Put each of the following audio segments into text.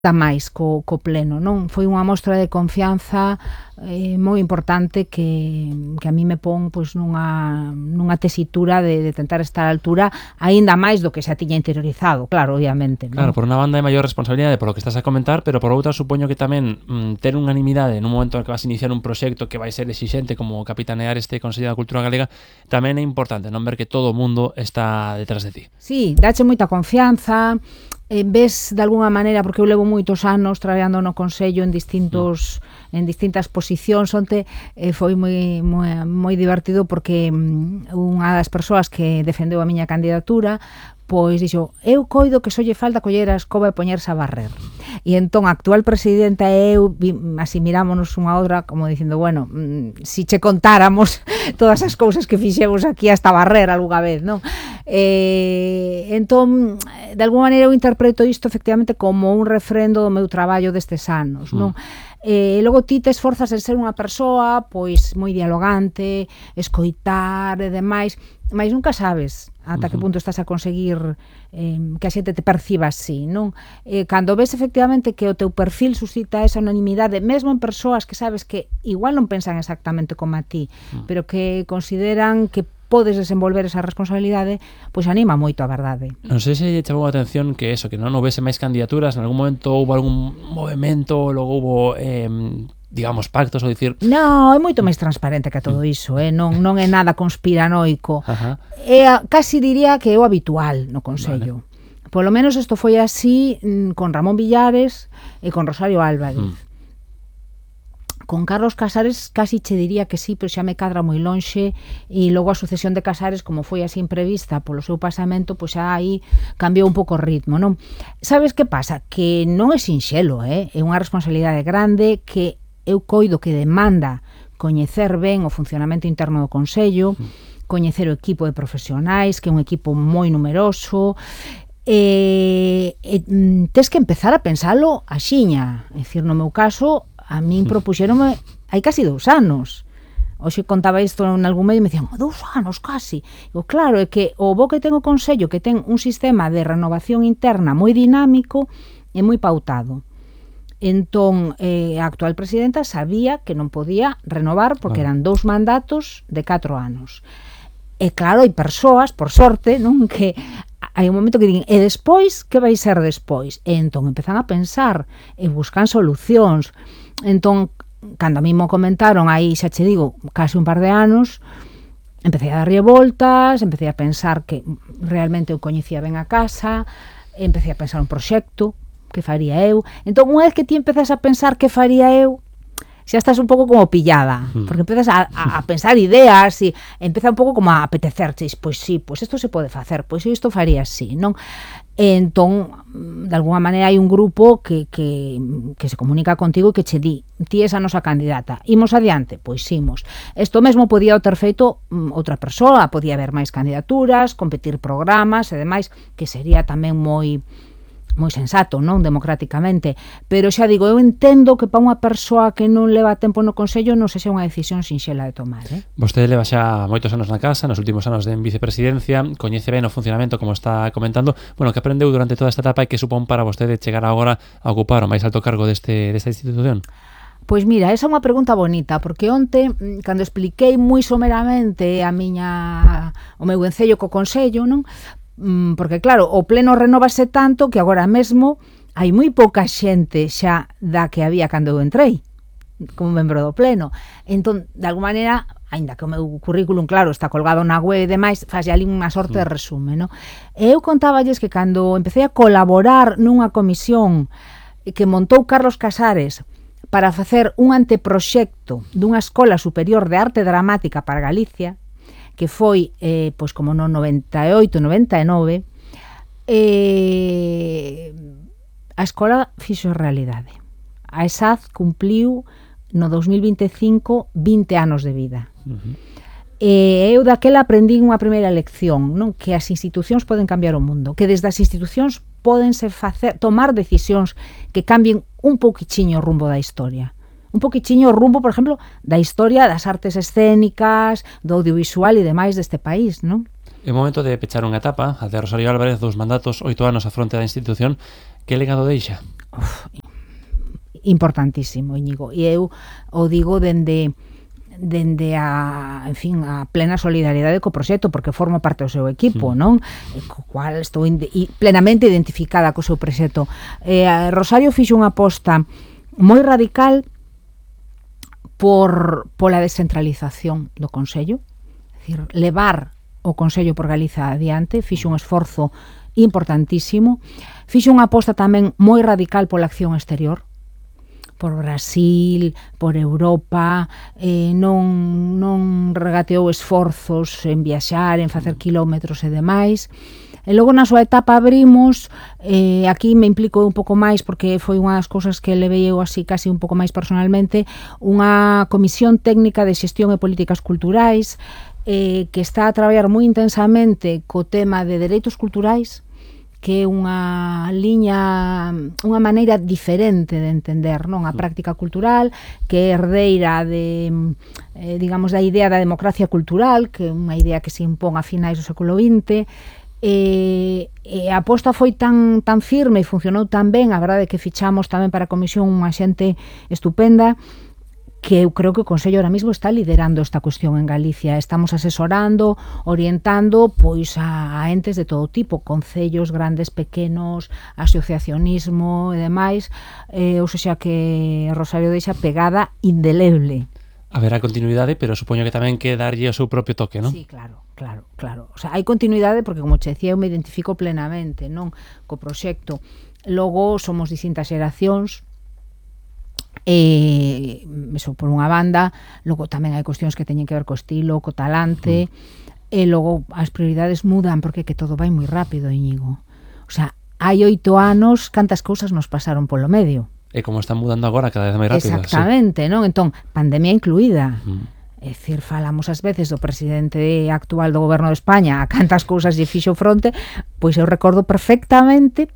dá máis co pleno, non? Foi unha mostra de confianza moi importante que a mí me pon pois nunha tesitura de tentar estar á altura aínda máis do que xa tiña interiorizado, claro, obviamente, non? Claro, por unha banda é maior responsabilidade polo que estás a comentar, pero por outra supoño que tamén ter unanimidade nun momento en que vas a iniciar un proxecto que vai ser exixente como capitanear este Consello da Cultura Galega tamén é importante non ver que todo o mundo está detrás de ti. Sí, dáche moita confianza, ves de alguna maneira, porque eu levo moitos anos traballando no Consello en distintas posicións. Onte foi moi divertido porque unha das persoas que defendeu a miña candidatura pois dixo, eu coido que só lle falta coller a escoba e poñerse a barrer. E entón a actual presidenta e eu así mirámonos unha outra como dicindo, bueno, si che contáramos todas as cousas que fixemos aquí hasta barrer algunha vez, non? Entón, de alguma maneira eu interpreto isto efectivamente como un refrendo do meu traballo destes anos, non? E logo ti te esforzas en ser unha persoa pois moi dialogante, escoitar e demais, mas nunca sabes ata que punto estás a conseguir que a xente te perciba así, non? Cando ves efectivamente que o teu perfil suscita esa unanimidade, mesmo en persoas que sabes que igual non pensan exactamente como a ti, pero que consideran que podes desenvolver esa responsabilidade, pois anima moito a verdade. Non sei se lle chamou a atención que eso, que non houvese máis candidaturas, en algún momento houve algún movimento, logo houve digamos, pactos, ou dicir... Non, é moito máis transparente que todo iso, non é nada conspiranoico. Casi diría que é o habitual no Consello. Vale. Polo menos isto foi así con Ramón Villares e con Rosario Álvarez. Con Carlos Casares casi che diría que sí, pero xa me cadra moi lonxe, e logo a sucesión de Casares, como foi así imprevista polo seu pasamento, pois xa aí cambiou un pouco o ritmo, non? Sabes que pasa? Que non é sinxelo, é unha responsabilidade grande que eu coido que demanda coñecer ben o funcionamento interno do Consello, coñecer o equipo de profesionais, que é un equipo moi numeroso, tes que empezar a pensalo axiña. É dicir, no meu caso, a min propuxéronme hai casi 2 anos. Hoxe contaba isto en algún medio e me dicían, 2 anos casi. Digo, claro, é que o bo que ten o Consello, que ten un sistema de renovación interna moi dinámico e moi pautado. Entón, a actual presidenta sabía que non podía renovar porque eran 2 mandatos de 4 anos. E claro, hai persoas, por sorte, non, que hai un momento que din, e despois, que vai ser despois? E entón empezan a pensar e buscan solucións. Entón, cando a mí mo comentaron aí, xa che digo, case un par de anos, empecé a darlle voltas, empecé a pensar que realmente eu coñecía ben a casa, empecé a pensar un proxecto que faría eu. Entón, unha vez que ti empezas a pensar que faría eu, xa estás un pouco como pillada, porque empezas a pensar ideas e empeza un pouco como a apetecerches, pois sí, pois isto se pode facer, pois isto faría así, non? E entón, de alguna maneira hai un grupo que se comunica contigo e que che di, ti és a nosa candidata, imos adiante? Pois imos. Isto mesmo podía ter feito outra persoa, podía haber máis candidaturas, competir programas e demais, que sería tamén moi sensato, non? Democráticamente, pero xa digo, eu entendo que para unha persoa que non leva tempo no Consello non sexa unha decisión sinxela de tomar, Vostede leva xa moitos anos na casa, nos últimos anos de vicepresidencia, coñece ben o funcionamento, como está comentando, bueno, que aprendeu durante toda esta etapa e que supón para vostede chegar agora a ocupar o máis alto cargo desta institución? Pois mira, esa é unha pregunta bonita, porque onte, cando expliquei moi someramente o meu encello co Consello, non? Porque claro, o pleno renovase tanto que agora mesmo hai moi pouca xente xa da que había cando eu entrei como membro do pleno. Entón, de alguma maneira, aínda que o meu currículum, claro, está colgado na web e demais, faz ali unha sorte de resume, non? E eu contáballes que cando empecé a colaborar nunha comisión que montou Carlos Casares para facer un anteproxecto dunha escola superior de arte dramática para Galicia, que foi, pois como no 98-99, a escola fixo realidade. A ESAD cumpliu no 2025 20 anos de vida. Eu daquela aprendín unha primeira lección, non? Que as institucións poden cambiar o mundo, que desde as institucións pódense tomar decisións que cambien un pouquichiño o rumbo da historia. Un poquichiño o rumbo, por exemplo, da historia das artes escénicas, do audiovisual e demais deste país, non? É o momento de pechar unha etapa, a de Rosario Álvarez, 2 mandatos, 8 anos a fronte da institución. Que legado deixa? importantísimo, Íñigo. E eu o digo dende a, en fin, a plena solidaridade co proxecto, porque formo parte do seu equipo, non? Co cual estou plenamente identificada co seu proxecto. Rosario fixo unha aposta moi radical pola descentralización do Consello, é dicir, levar o Consello por Galiza adiante, fixo un esforzo importantísimo, fixo unha aposta tamén moi radical pola acción exterior, por Brasil, por Europa, non regateou esforzos en viaxar, en facer kilómetros e demais. E logo na súa etapa abrimos, aquí me implico un pouco máis porque foi unha das cousas que levei eu así casi un pouco máis personalmente, unha comisión técnica de xestión e políticas culturais que está a traballar moi intensamente co tema de dereitos culturais, que é unha liña, unha maneira diferente de entender, non, a práctica cultural, que é herdeira de, digamos, da idea da democracia cultural, que é unha idea que se impón a finais do século XX, e a aposta foi tan firme e funcionou tan ben, a verdade é que fichamos tamén para a comisión unha xente estupenda, que eu creo que o Consello ahora mismo está liderando esta cuestión en Galicia. Estamos asesorando, orientando pois a entes de todo tipo, concellos grandes, pequenos, asociacionismo e demais, ou seja que Rosario deixa pegada indeleble. Haberá continuidade, pero supoño que tamén que darlle o seu propio toque, non? Sí, claro. O sea, hai continuidade porque, como che decía, eu me identifico plenamente, non, co proxecto. Logo somos distintas xeracións, eso por unha banda, logo tamén hai cuestións que teñen que ver co estilo, co talante, e logo as prioridades mudan porque que todo vai moi rápido, Íñigo. O sea, hai 8 anos cantas cousas nos pasaron polo medio. E como están mudando agora cada vez máis rápido. Exactamente, non? Entón, pandemia incluída. É dicir, falamos ás veces do presidente actual do goberno de España a cantas cousas lle fixo fronte, pois eu recordo perfectamente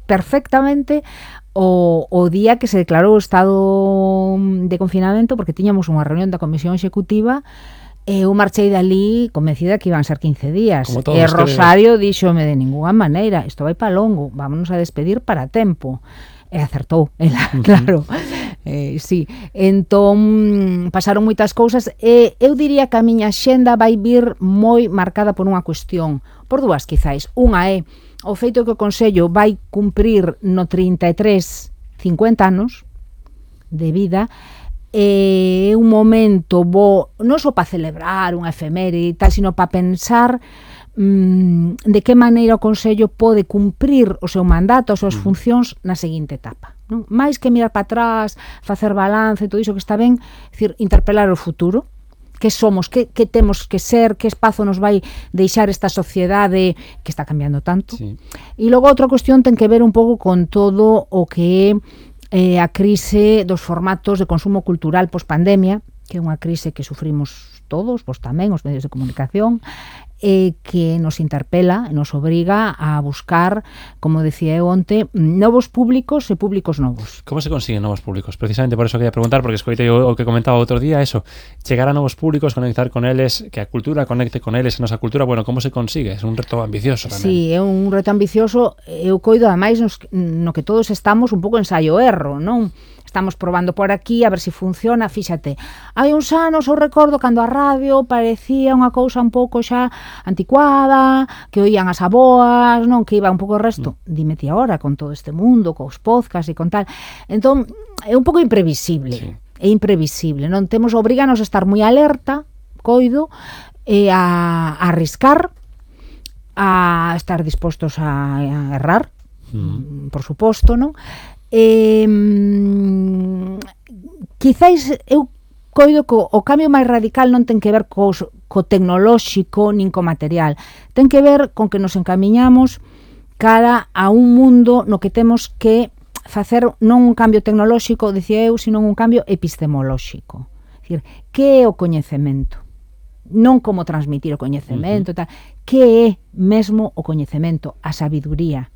o día que se declarou o estado de confinamento, porque tiñamos unha reunión da Comisión Executiva e eu marchei dali convencida que iban ser 15 días. E Rosario díxome de ninguna maneira, isto vai para longo, vámonos a despedir para tempo. E acertou, ela, claro. Sí, entón pasaron moitas cousas e eu diría que a miña xenda vai vir moi marcada por unha cuestión, por dúas quizáis. Unha é o feito que o Consello vai cumprir no 33 50 anos de vida, é un momento bo, non só para celebrar unha efeméride e tal, sino para pensar de que maneira o Consello pode cumprir o seu mandato, as súas funcións na seguinte etapa, non? Mais que mirar para atrás, facer balance, todo iso que está ben, decir, interpelar o futuro, que somos, que temos que ser, que espazo nos vai deixar esta sociedade que está cambiando tanto. Sí. E logo outra cuestión ten que ver un pouco con todo o que é a crise dos formatos de consumo cultural post-pandemia, que é unha crise que sufrimos todos, pois tamén os medios de comunicación, que nos interpela, nos obriga a buscar, como decía eu onte, novos públicos e públicos novos. Como se consiguen novos públicos? Precisamente por eso quería preguntar, porque escoitei o que comentaba outro día, eso, chegar a novos públicos, conectar con eles, que a cultura conecte con eles, a nosa cultura, bueno, como se consigue? É un reto ambicioso tamén. Sí, é un reto ambicioso, eu coido ademais no que todos estamos un pouco ensaio-erro, non? Estamos probando por aquí a ver se funciona, fíxate. Hai uns anos eu recordo cando a radio parecía unha cousa un pouco xa anticuada, que oían as aboas, non, que iba un pouco o resto. Dime ti agora con todo este mundo, cos podcasts e con tal. Entón, é un pouco imprevisible. Sí. É imprevisible, non temos, obriganos a estar moi alerta, coido, e a arriscar, a estar dispostos a errar, por suposto, non? Quizáis eu coido que o cambio máis radical non ten que ver co tecnolóxico nin co material, ten que ver con que nos encamiñamos cara a un mundo no que temos que facer non un cambio tecnolóxico, dicía eu, sino un cambio epistemolóxico. É dicir, que é o coñecemento? Non como transmitir o coñecemento, tal. Que é mesmo o coñecemento, a sabiduría?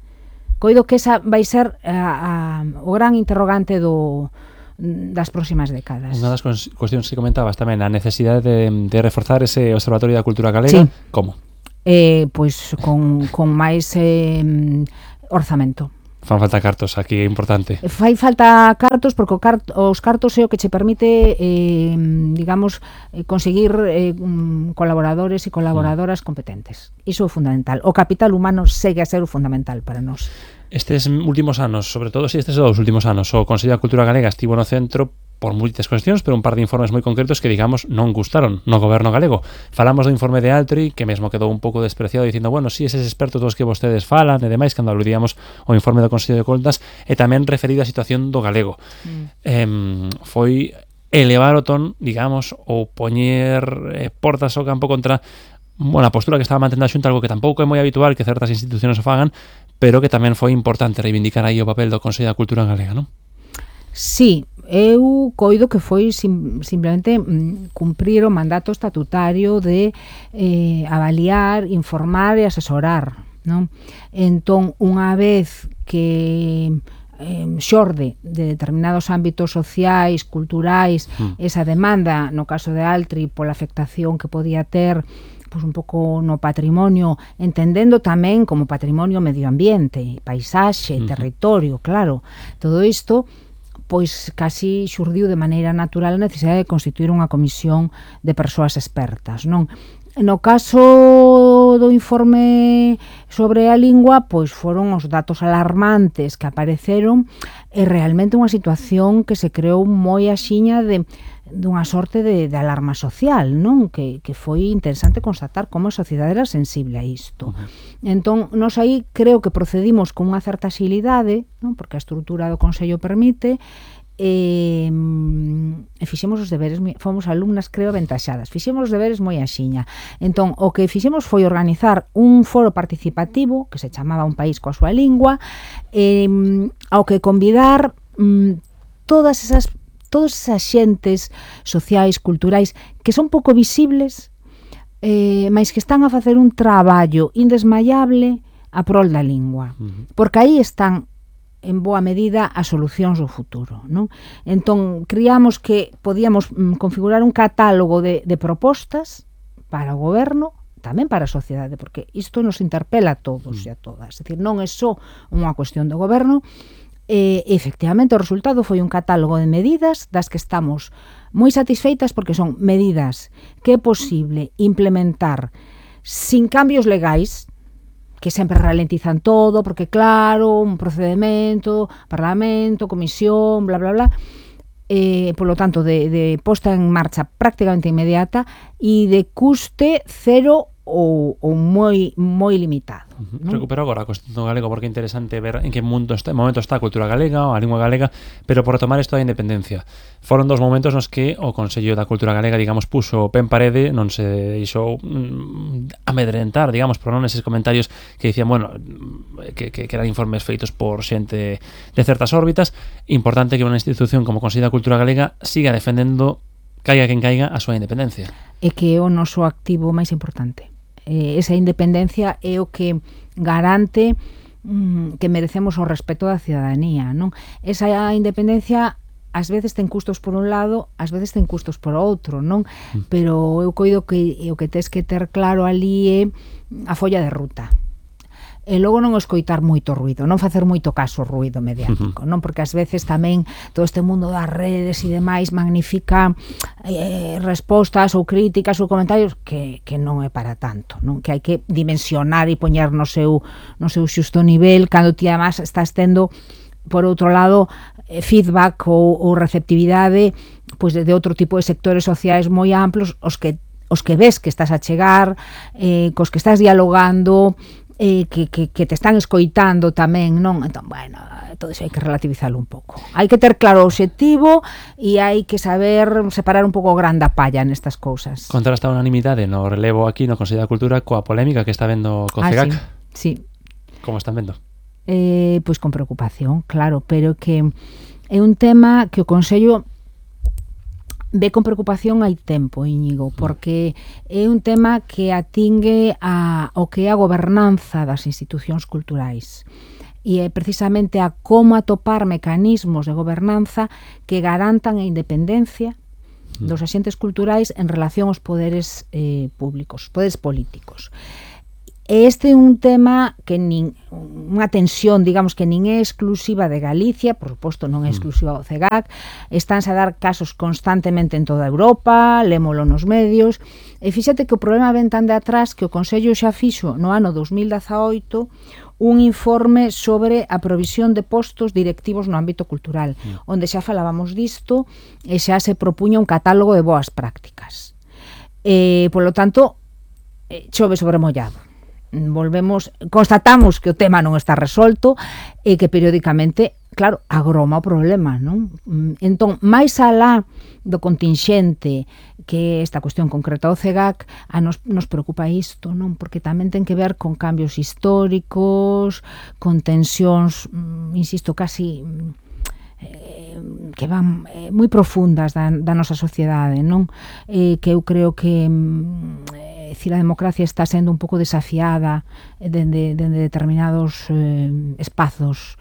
Coido que esa vai ser o gran interrogante das próximas décadas. Unha das cuestións que comentabas tamén, a necesidade de reforzar ese Observatorio da Cultura Galega. Sí. Como? Pois con máis orzamento. Fan falta cartos, aquí é importante. Fai falta cartos porque os cartos é o que che permite digamos, conseguir colaboradores e colaboradoras competentes. Iso é fundamental. O capital humano segue a ser o fundamental para nós. Estes últimos anos, sobre todo estes 2 últimos anos, o Consello da Cultura Galega estivo no centro por moitas cuestións, pero un par de informes moi concretos que, digamos, non gustaron no goberno galego. Falamos do informe de Altri, que mesmo quedou un pouco despreciado dicindo, bueno, si eses expertos dos que vostedes falan e demais, cando aludíamos ao informe do Consello de Contas, e tamén referido á situación do galego. Foi elevar o ton, digamos, ou poñer portas ao campo contra a postura que estaba mantendo a Xunta, algo que tampouco é moi habitual que certas institucións o fagan, pero que tamén foi importante reivindicar aí o papel do Consello da Cultura Galega, non? Sí, eu coido que foi simplemente cumprir o mandato estatutario de avaliar, informar e asesorar, non? Entón, unha vez que xorde de determinados ámbitos sociais, culturais, esa demanda, no caso de Altri, pola afectación que podía ter pois un pouco no patrimonio, entendendo tamén como patrimonio medio ambiente, paisaxe, territorio, claro, todo isto pois casi xurdiu de maneira natural a necesidade de constituir unha comisión de persoas expertas, non? No caso do informe sobre a lingua, pois foron os datos alarmantes que apareceron e realmente unha situación que se creou moi axiña dunha sorte de alarma social, non? Que foi interesante constatar como a sociedade era sensible a isto. Entón, nós aí creo que procedimos con unha certa xilidade, non? Porque a estrutura do Consello permite, e fixemos os deberes, fomos alumnas, creo, aventaxadas, fixemos os deberes moi axiña. Entón, o que fixemos foi organizar un foro participativo que se chamaba Un País coa súa lingua, ao que convidar todos esas xentes sociais, culturais, que son pouco visibles, mas que están a facer un traballo indesmayable a prol da lingua. Porque aí están, en boa medida, as solucións do futuro, non? Entón, criamos que podíamos configurar un catálogo de propostas para o goberno, tamén para a sociedade, porque isto nos interpela a todos e a todas. É dicir, non é só unha cuestión do goberno. Efectivamente, o resultado foi un catálogo de medidas das que estamos moi satisfeitas porque son medidas que é posible implementar sin cambios legais, que sempre ralentizan todo, porque claro, un procedimento, parlamento, comisión, bla, bla, bla, polo tanto, de posta en marcha prácticamente inmediata e de custe cero ou moi limitado. Recupero agora a cuestión do galego porque é interesante ver en que momento está a cultura galega ou a lingua galega, pero por retomar isto da independencia. Foron 2 momentos nos que o Consello da Cultura Galega, digamos, puxo o pé en parede, non se deixou amedrentar, digamos, por non eses comentarios que dicían, bueno, que eran informes feitos por xente de certas órbitas. Importante que unha institución como o Consello da Cultura Galega siga defendendo, caiga quen caiga, a súa independencia. É que é o noso activo máis importante. Esa independencia é o que garante que merecemos o respeto da cidadanía, non? Esa independencia ás veces ten custos por un lado, ás veces ten custos por outro, non? Pero eu coido que o que tes que ter claro ali é a folla de ruta. E logo non escoitar moito ruido, non facer moito caso ao ruido mediático, non? Porque ás veces tamén todo este mundo das redes e demais magnifica respostas ou críticas ou comentarios que non é para tanto, non? Que hai que dimensionar e poñer no seu xusto nivel cando ti además estás tendo, por outro lado, feedback ou receptividade pois de outro tipo de sectores sociais moi amplos, os que ves que estás a chegar, cos que estás dialogando, que te están escoitando tamén, non? Entón, bueno, todo iso hai que relativizarlo un pouco. Hai que ter claro o obxectivo e hai que saber separar un pouco o gran da palla nestas cousas. Contrasta a unanimidade no relevo aquí no Consello da Cultura coa polémica que está vendo co CEGAC. Sí. Como están vendo? Pois con preocupación, claro, pero que é un tema que o Consello ve con preocupación hai tempo, Íñigo, porque é un tema que atingue ao que é a gobernanza das institucións culturais e é precisamente a como atopar mecanismos de gobernanza que garantan a independencia dos axentes culturais en relación aos poderes públicos, poderes políticos. Este é un tema que unha tensión, digamos, que nin é exclusiva de Galicia, por suposto non é exclusiva do CEGAC, estánse a dar casos constantemente en toda Europa, lémolo nos medios, e fíxate que o problema ven tan de atrás que o Consello xa fixo no ano 2018 un informe sobre a provisión de postos directivos no ámbito cultural, onde xa falábamos disto e xa se propuña un catálogo de boas prácticas. Polo tanto, chove sobre mollado. Constatamos que o tema non está resolto e que periódicamente, claro, agroma o problema, non? Entón, máis alá do contingente que esta cuestión concreta do CEGAC, nos preocupa isto, non? Porque tamén ten que ver con cambios históricos, con tensións, insisto, casi que van moi profundas da nosa sociedade, non? Que eu creo que a democracia está sendo un pouco desafiada dende determinados espazos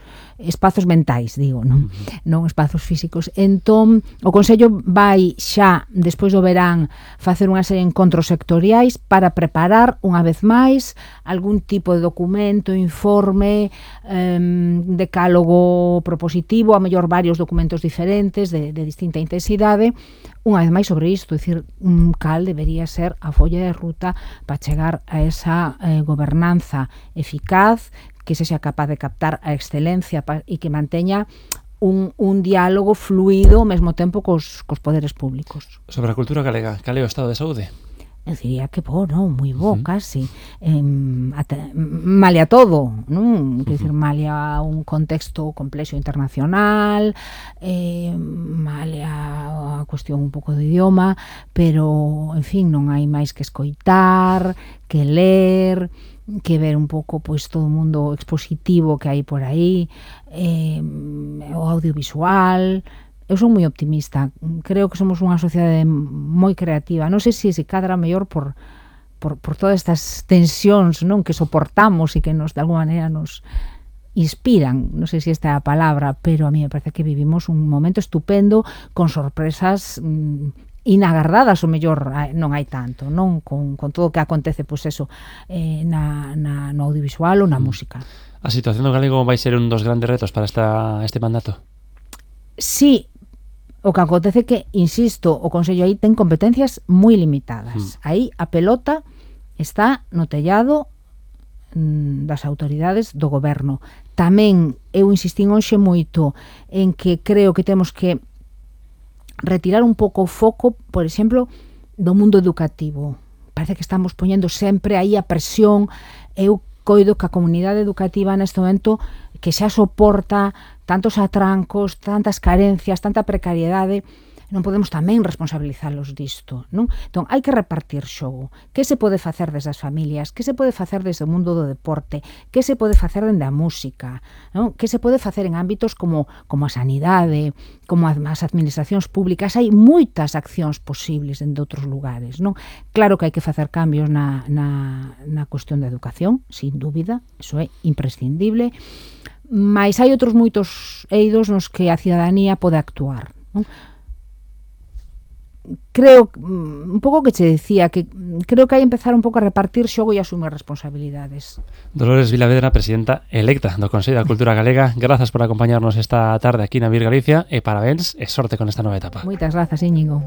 mentais, digo, non? Non espazos físicos. Entón, o Consello vai xa, despois do verán, facer unha serie de encontros sectoriais para preparar, unha vez máis, algún tipo de documento, informe, decálogo propositivo, a mellor varios documentos diferentes de distinta intensidade, unha vez máis sobre isto, é dicir, cal debería ser a folla de ruta para chegar a esa gobernanza eficaz, que sexa capaz de captar a excelencia e que manteña un diálogo fluido ao mesmo tempo cos poderes públicos. Sobre a cultura galega, cal é o estado de saúde? Eu diría que bo, non? Moi bo, casi. Malia todo, non? Quer dizer, malia un contexto complexo internacional, malia a cuestión un pouco do idioma, pero, en fin, non hai máis que escoitar, que ler, que ver un pouco pois todo o mundo expositivo que hai por aí, o audiovisual. Eu son moi optimista, creo que somos unha sociedade moi creativa, non sei se cadra mellor por todas estas tensións, non, que soportamos e que nos de alguma maneira nos inspiran, non sei se esta é a palabra, pero a mí me parece que vivimos un momento estupendo con sorpresas inagardadas, o mellor non hai tanto, non, con todo o que acontece, pois eso, no audiovisual ou na música. A situación do galego vai ser un dos grandes retos para este mandato? Sí, o que acontece que, insisto, o Consello aí ten competencias moi limitadas. Aí a pelota está no tellado das autoridades do goberno. Tamén eu insistín hoxe moito en que creo que temos que retirar un pouco o foco, por exemplo, do mundo educativo. Parece que estamos poñendo sempre aí a presión. Eu coido que a comunidade educativa neste momento que xa soporta tantos atrancos, tantas carencias, tanta precariedade, non podemos tamén responsabilizalos disto, non? Entón, hai que repartir xogo. Que se pode facer desde as familias? Que se pode facer desde o mundo do deporte? Que se pode facer dende a música? Non? Que se pode facer en ámbitos como a sanidade, como as administracións públicas? Hai moitas accións posibles dende outros lugares, non? Claro que hai que facer cambios na cuestión da educación, sin dúbida, iso é imprescindible, mas hai outros moitos eidos nos que a cidadanía pode actuar, non? Creo, un pouco que che decía, que creo que hai empezar un pouco a repartir xogo e asumir responsabilidades. Dolores Vilavedra, presidenta electa do Consello da Cultura Galega, grazas por acompañarnos esta tarde aquí na Vir Galicia e parabéns e sorte con esta nova etapa. Moitas grazas, Íñigo.